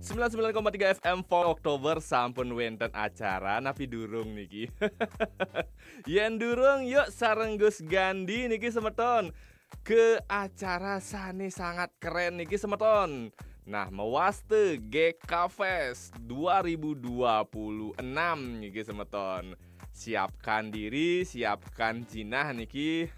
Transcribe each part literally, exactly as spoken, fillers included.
Sembilan sembilan koma tiga F M Fox Oktober sampun wenten acara napi durung niki? Yen durung, yuk sareng Gus Gandhi niki semeton ke acara sane sangat keren niki semeton. Nah, mewaste G K Fest dua ribu dua puluh enam niki semeton. Siapkan diri, siapkan jinah niki.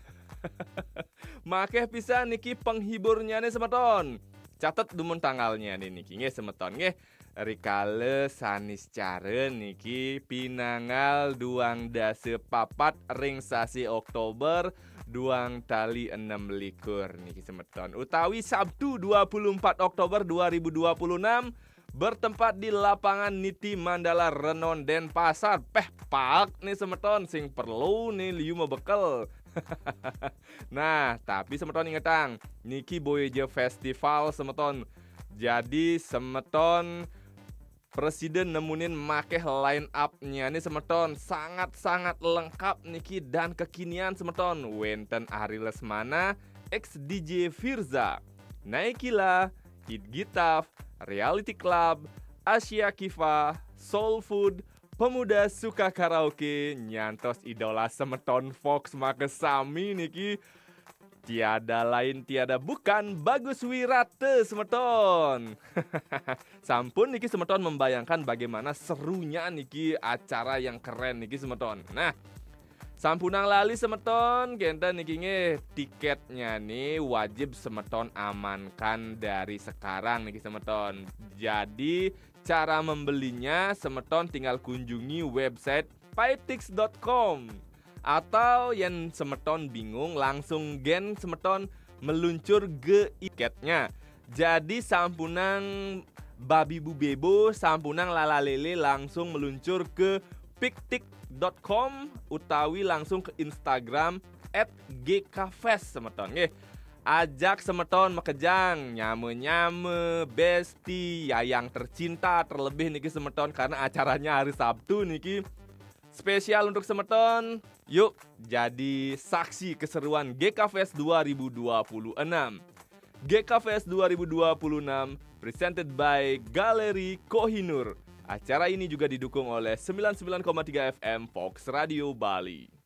Makeh pisan niki penghiburnyane semeton. Catet dumun tanggalnya nih niki nggih semeton nggih. Rikala Saniscara niki pinanggal duang dasa papat ring sasi Oktober duang tali enam likur niki semeton. Utawi Sabtu dua puluh empat Oktober dua ribu dua puluh enam bertempat di lapangan Niti Mandala Renon Denpasar. Peh paek nih semeton sing perlu nih liu mebekel. Nah, tapi semeton ingetang, niki boya ja festival semeton. Jadi semeton presiden nemunin makeh line up-nyane semeton sangat-sangat lengkap niki dan kekinian semeton. Wenten Ari Lesmana, ex D J Firza, Naikila, Kid Gitaf, Reality Club, Asia Kiva, Soul Food, Pemuda Suka Karaoke, nyantos idola semeton Fox makesami niki. Tiada lain, tiada bukan, Bagus Wirata semeton. Sampun niki semeton membayangkan bagaimana serunya niki acara yang keren niki semeton. Nah, sampunang lali semeton, kenten niki nggih tiketnya nih wajib semeton amankan dari sekarang niki semeton. Jadi cara membelinya semeton tinggal kunjungi website paetix dot com. Atau yen semeton bingung, langsung gen semeton meluncur ke tiketnya. Jadi sampunang babi bu bebo, sampunang lala lele, langsung meluncur ke piktik dot com utawi langsung ke Instagram at G K Fest semeton nggih. Ajak semeton makejang, nyama-nyama, besti, yayang tercinta, terlebih niki semeton karena acaranya hari Sabtu niki. Spesial untuk semeton, yuk jadi saksi keseruan G K Fest dua ribu dua puluh enam. G K Fest dua ribu dua puluh enam presented by Galeri Kohinoor. Acara ini juga didukung oleh sembilan sembilan koma tiga F M Fox Radio Bali.